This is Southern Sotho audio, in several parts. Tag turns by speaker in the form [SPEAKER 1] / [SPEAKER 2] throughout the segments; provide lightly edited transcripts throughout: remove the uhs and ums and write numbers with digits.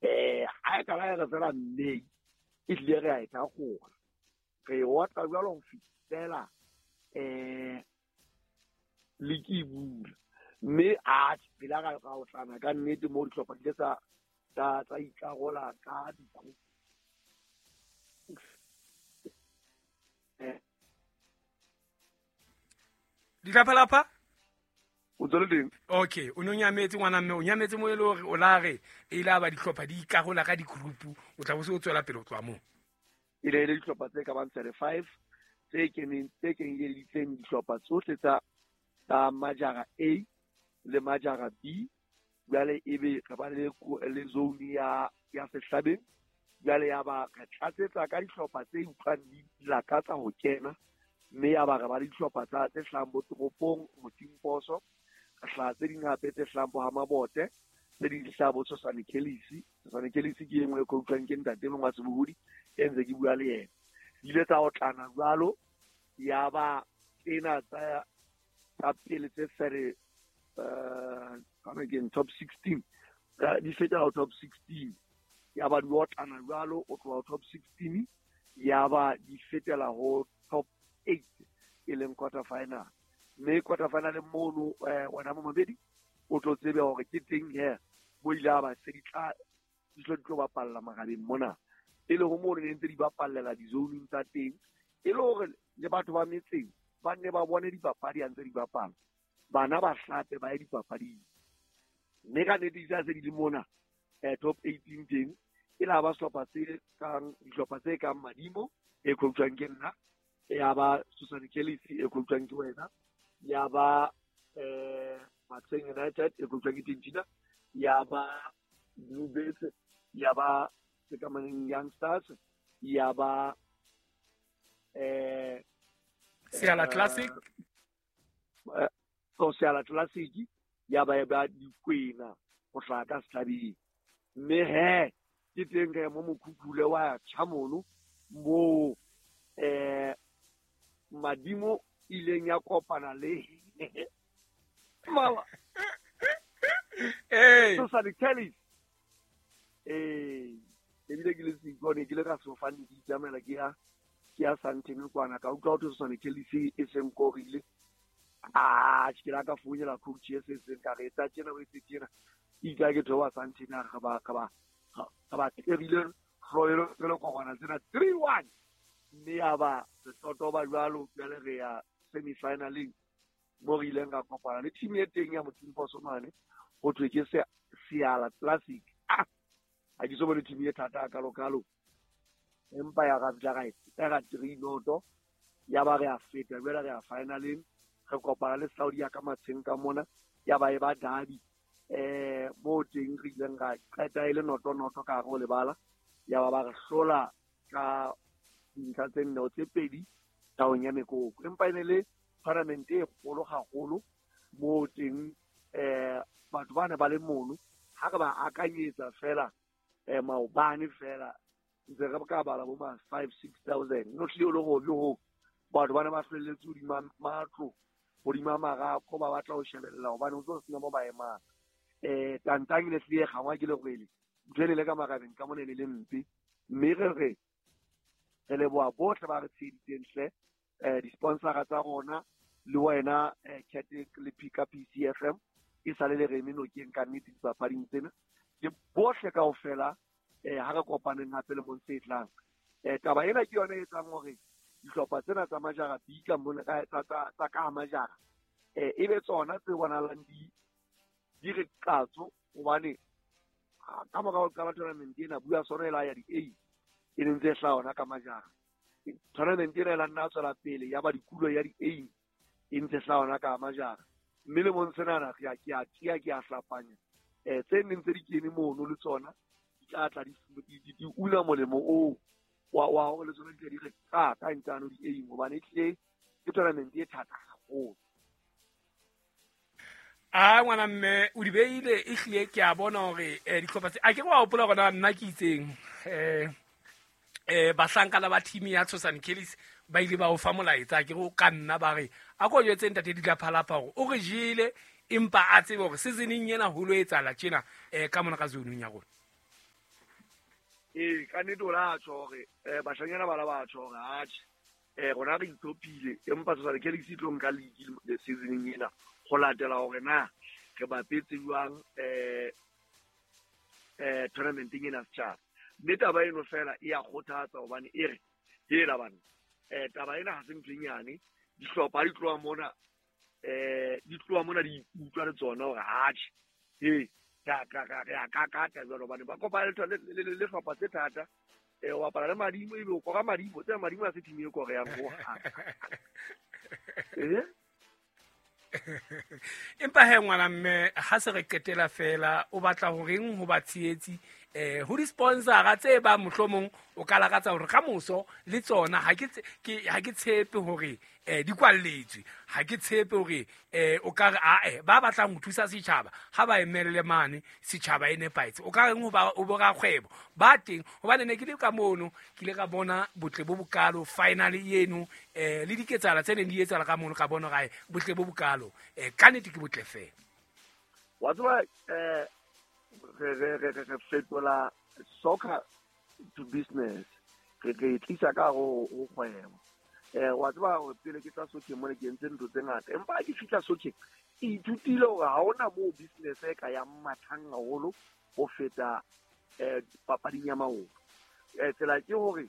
[SPEAKER 1] Ha e kala ya re fela May e tlile re a e thagola re e otla jwalo ho fihlela league e bula. Mme a pela ra otlana ka nnete mo dihlopha di ile tsa ikarola ka di-group.
[SPEAKER 2] Ditlaphalapha?
[SPEAKER 1] O tswele teng.
[SPEAKER 2] Okay, o ne o nyametse ngwana mme o nyametse mo e le hore o la re e ile ba dihlopha di ikarola ka di-group, o tla bo se o tswela pele o tloha moo.
[SPEAKER 1] E ne e le dihlopha tse ka bang 35 tse keneng tse kenyeleditseng dihlopha tsohle tsa majara A le majara B. Jwale ebe re ba le zone ya Sehlabeng. Jwale ya ba re tlatsetsa ka dihlopha tse utlwang di lakatsa ho kena, mme ya ba re ba le dihlopha tsa tse hlahang bo toropong, Motimposo, re hlaha tse ding hape tse hlahang bo ha Mabote, tse ding di hlaha bo Tshosane Kelisi. Tshosane Kelisi ke e nngwe e coachwang ke ntate mongwe wa sebohodi e ntse ke bua le yena. Di ile tsa otlana jwalo, ya ba tsena tsa pele tse fere ke top 16, di fetela ho top 16, ya ba di otlana jwalo, o tloha ho top 16 ya ba di fetela ho top 8 e leng quarter final. Mme quarter final mono wena momamedi o tlo tsebe hore ke teng he mo ile a ba se di tla di tlo bapalla marabeng mona, e le ho mono ne ntse di bapallela di-zoning tsa teng, e le hore le batho ba metseng ba nne ba bone dipapadi ha ntse di bapala, bana ba hlape ba ye dipapading. Mme ka nnete di tla se di le mona top 18 teng, e la ba sehlopha tse kang dihlopha tse kang Madimo e coachwang ke nna, ya ba Susan Kelly e coachwang ke wena, ya ba Matsheng United e coachwang ke Tintina, ya ba Blue Birds, ya ba Sekamaneng Young Stars, ya ba
[SPEAKER 2] Seala Classic,
[SPEAKER 1] Seala Classic, ya ba ba Dikwena ho hlaha ka Sehlabeng. Mme he ke teng re mo mokhukhule wa tjha mono moo Madimo ileng ya kopana le mama Susan Kelly. Ebile ke le seikone ke le ka sefofane ke itsamaela ke ya Sandton kwana, ka utlwa ho thwe Susan Kelly e seng korile. Ke la ka founela coach e se seng ka re etsa tjena o etse tjena. Itse ke theoha Sandton a re ba terile hloelo le kopana tsena 3-1. Mme ya ba re totoba jwalo, jwale re ya semi-finaleng mo re ileng ra kopana le team e teng ya Motimposo mane, ho thwe ke Seala Classic. Ha ke so bone team e thata kalo-kalo, empa ya ra fihla ra e tera 3-0, ya ba re a feta jwale re ya finaleng, re kopana le Saudi ya ka Matsheng ka mona, ya ba e ba derby. Mo teng re ileng ra qeta e le noto-noto ka hare ho lebala, ya ba ba re hlola ka dintlha tse nne tse pedi taong ya mekoko. Empa e ne le tournament e kgolo haholo mo teng batho ba ne ba le mono, ha re ba akanyetsa fela maobane fela ntse re ka bala bo ma 5-6 thousand. No hlile o le hobe ho batho ba ne ba hlwelletse hodima matlo, hodima marako, ba batla ho shebella hobane ho tlo sena mo ba emang. Tantang e ne hlile e kgangwa ke lerwele, ntho e ne le ka marabeng ka mona e ne le mpe. Mme re re leboha bohle ba re tsheheditseng hle, di-sponsora tsa rona le wena Cat le Pika PCFM e sale le re eme nokeng ka nnete dipapading tsena. Le bohle kaofela ha re kopaneng hape lemong se tlang. Taba ena ke yona e etsang hore dihlopha tsena tsa majara B ka mona, tsa ka majara, e be tsona tse bonahalang di re qatso, hobane ka mora ho qala tournament ena bua sona e la ya di-A e neng tse hlaha hona ka majara. Tournament ena e la nna tswela pele ya ba dikulo ya di-A e ntse hlaha hona ka majara. Mme lemong senana ke a tia, ke a hlapanya. Tse neng tse di kene mono le tsona di tla tla di una molemo oo wa hore le tsona di tle di re ka ka ntano di-A, hobane e tlile ke tournament e thata haholo.
[SPEAKER 2] A ngwana mme o di beile e hlile ke a bona hore dihlopha tse a ke wa hopola hore nna ke itseng bahlankana ba team ya Tshosane Kellis ba ile ba o fa molaetsa ke go ka nna ba re a ko jwetse ntate Ditlaphalapha hore o re jele empa a tsebe hore seasoneng ena ho lo etsahala tjena ka mona ka zoneng ya rona.
[SPEAKER 1] Ee, ka nnete o la tjho hore bashanyana ba la ba tjho hore atjhe rona re itlhophile, empa Tshosane Callies e tlo nka league seasoneng ena ho latela hore na re bapetse jwang tournamenteng ena setjhaba. Mme taba eno fela e ya kgothatsa hobane e re hela bana, taba ena ha se ntho e nyane. Dihlopha di tloha mona, di tloha mona di ikutlwa le tsona hore atjhe he re a kakata jwalo, hobane ba kopana le hlopha tse thata. O bapala le Madimo, ebe o kora Madimo, tsena Madimo ha se team e koreyang hohang.
[SPEAKER 2] Empa he ngwana mme, ha se re qetela fela, o batla horeng ho batshehetsi ho di-sponsora tse bang mohlomong o ka lakatsa hore ka moso le tsona ha ke tshepe hore di kwalletswe, ha ke tshepe hore o ka re ae ba batlang ho thusa setjhaba ha ba emelle mane setjhaba e nepahetse, o ka reng ho ba o borakgwebo ba teng? Hobane ne ke le ka mono, ke ile ka bona botle bo bokalo finally eno, le diketsahalo tse neng di etsahala ka mono, ka bona hore botle bo bokalo ka nnete ke botle fela.
[SPEAKER 1] Wa tseba re fetola soccer to business, re tlisa ka ho kgwebo. Wa tseba hore pele ke tla sokheng mona ke entse ntho tse ngata, empa ha ke fihla sokheng ke ithutile hore ha hona moo business e ka yang mathang haholo ho feta papading ya maoto. Tsela ke hore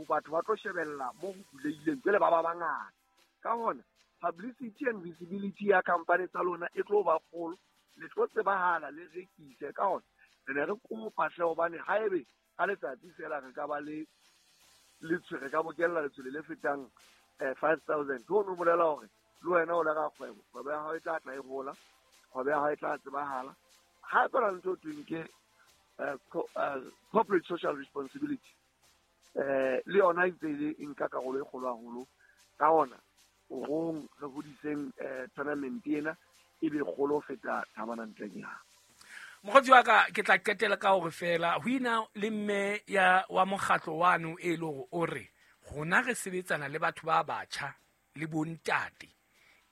[SPEAKER 1] batho ba tlo shebella mo ho bulehileng, jwale ba ba bangata. Ka hona publicity and visibility ya company tsa lona e tlo ba kgolo, le tlo tsebahala, le rekise. Ka hona re ne re kopa hle, hobane haebe ka letsatsi fela re ka ba le letshwele, ka bokella letshwele le fetang 5,000, ho no bolela hore le wena o le rakgwebo, kgwebo ya hao e tla tla e hola, kgwebo ya hao e tla tsebahala. Hape ra ntho thweng ke corporate social responsibility, le yona e ntse e nka karolo e kgolo haholo. Ka hona rong re hodiseng tournament ena e be kgolo ho feta thabana ntleng ya.
[SPEAKER 2] Mokgotsi wa ka, ke tla qetela ka hore fela ho ina le mme ya wa mokgatlo wano e le hore o re rona re sebetsana le batho ba batjha le bontate,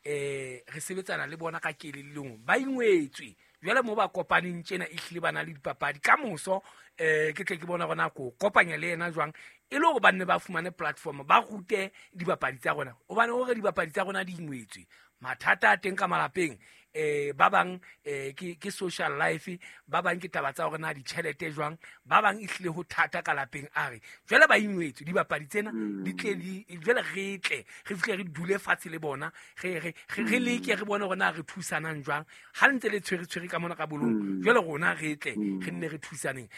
[SPEAKER 2] re sebetsana le bona ka kelellong, ba ingwetswe jwale mo ba kopaneng tjena e hlile ba na le dipapadi ka moso. Ke tle ke bona hore na ko kopanya le yena jwang e le hore ba nne ba fumane platform, ba rute dibapadi tsa rona, hobane hore dibapadi tsa rona di ingwetswe, mathata a teng ka malapeng, ba bang ke social life, ba bang ke taba tsa hore na ditjhelete jwang, ba bang e hlile ho thata ka lapeng. A re jwale ba ingwetswe dibapadi tsena di tle di jwale re tle re fihle re dule fatshe le bona, re leke re bone hore na re thusanang jwang ha ntse le tshwere ka mona ka bolong, jwale rona re tle re nne re thusaneng.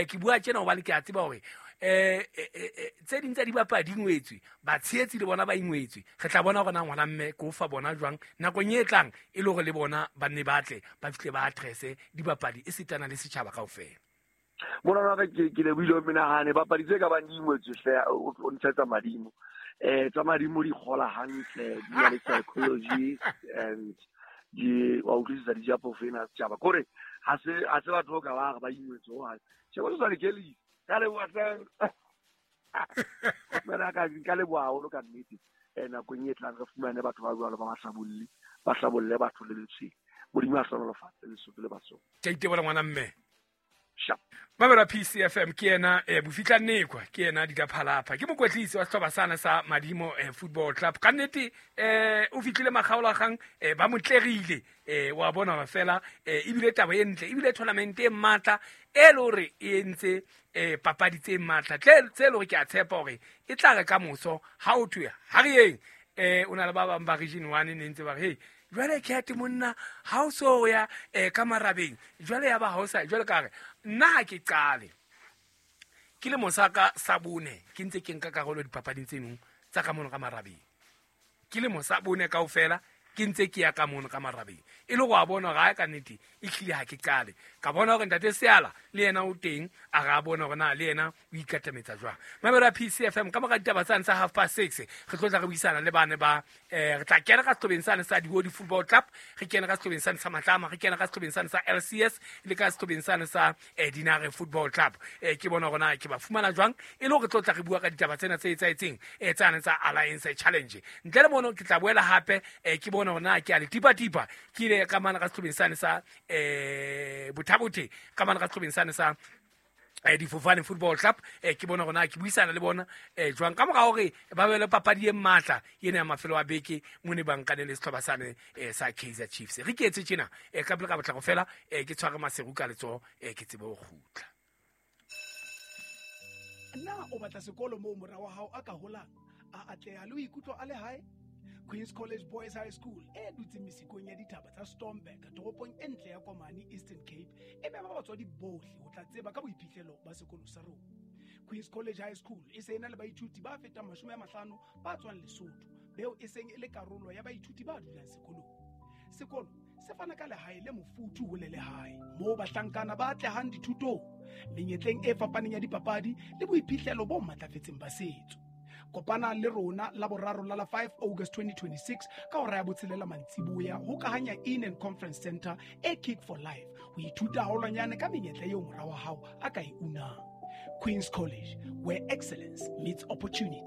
[SPEAKER 2] Ke bua tjena hobane ke a tseba hore tse ding tsa dibapadi di ingwetswe, batshehetsi le bona ba ingwetswe. Re tla bona hore na ngwana mme ke o fa bona jwang nakong e tlang, e le hore le bona ba nne ba tle ba fihle ba addresse dibapadi e sitana le setjhaba kaofela.
[SPEAKER 1] Mona wa ka ke lebohile ho menahane, bapadi tse ka bang di ingwetswe hle, o ntshetsa Madimo. Tsa Madimo di kgola hantle, di na le psychology and di wa utlwisisa di ja phofu ena setjhaba. Kore ha se batho ka ba re ba ingwetswe hohang. Sheba Tshosane Callies, ka leboha hle. Ka leboha haholo ka nnete. Nakong e tlang re fumane batho ba jwalo ba bahlabolli, ba hlabolle batho le letshwele. Modimo a hlohonolofatse Lesotho le Basotho.
[SPEAKER 2] Ke a itebola ngwana mme.
[SPEAKER 1] Sharp.
[SPEAKER 2] Mamela PCFM ke yena Bofihla Nekwa, ke yena Didaphalapha, ke mokwetlisi wa sehlopha sana sa Madimo Football Club. Ka nnete o fihlile makgaolakgang, ba mo tlerile, wa bona hore fela ebile taba e ntle, ebile tournament e matla e le hore e entse papadi tse matla tse le hore ke a tshepa hore e tla re ka moso ha o thwe ha re yeng. O na le ba bang ba region 1 ne ntse ba re hey jwale Cat monna ha o so ya ka marabeng jwale ya ba ha o sa jwale ka re nna ha ke qale ke le mosaka sa bone ke ntse ke nka karolo dipapading tse nong tsa ka mono ka marabeng, ke le mosa bone kaofela ke ntse ke ya ka mono ka marabeng, e le go a bona hore ha ka nnete e hlile ha ke qale. Ka bona hore ntate Seala le yena o teng, a re a bona hore na le yena o ikatametsa jwang. Mamelo ya PCFM ka mora ditaba tsane tsa 6:30 re tlo tla re buisana le bane ba re tla kena ka sehlobeng sane sa Dihodi Football Club, re kene ka sehlobeng sane sa Matlama, re kene ka sehlobeng sane sa LCS le ka sehlobeng sane sa Dinare Football Club. Ke bona hore na ke ba fumana jwang e le hore re tlo tla re bua ka ditaba tsena tse etsahetseng tsane tsa Alliance Challenge. Ntle le mono ke tla boela hape ke bona hore na ke a le tipa-tipa ke ile ka mana ka sehlobeng sane sa Bothabothe, ka mana ka sehlobeng sane sa Difofane Football Club, ke bona gona ke buisana le bona jwang ka mora hore ba be le papadi e matla ena ya mafelo a beke mo ne bankane le setlhopha sane sa Kaizer Chiefs. Re ke etse tjena, ka pele ka botlako fela, ke tshware Maseru ka letsoho, ke tsebe ho kgutla.
[SPEAKER 3] Na o batla sekolo moo mora wa hao a ka holang, a atleha le ho ikutlwa a le hae? Queens College Boys High School e dutseng mesikong ya dithaba tsa Stormberg, toropong e ntle ya Komani, Eastern Cape, e mema batswadi bohle ho tla tseba ka boiphihlelo ba sekolo sa rona. Queens College High School e se e na le baithuti ba fetang 50 ba tswang Lesotho, beo e seng e le karolo ya baithuti ba dulang sekolong. Sekolo se fana ka lehae le mofuthu ho le lehae moo bahlankana ba atlehang dithutong, menyetleng e fapaneng ya dipapadi le boiphihlelo bo matlafetseng ba setso. Kopana le rona la boraro la la 5 August 2026 ka hora ya 6 mantsiboya ho Kahanya Inn and Conference Center e Kick for Life, ho ithuta haholwanyane ka menyetla eo mora wa hao a ka e unang. Queens College, where excellence meets opportunity.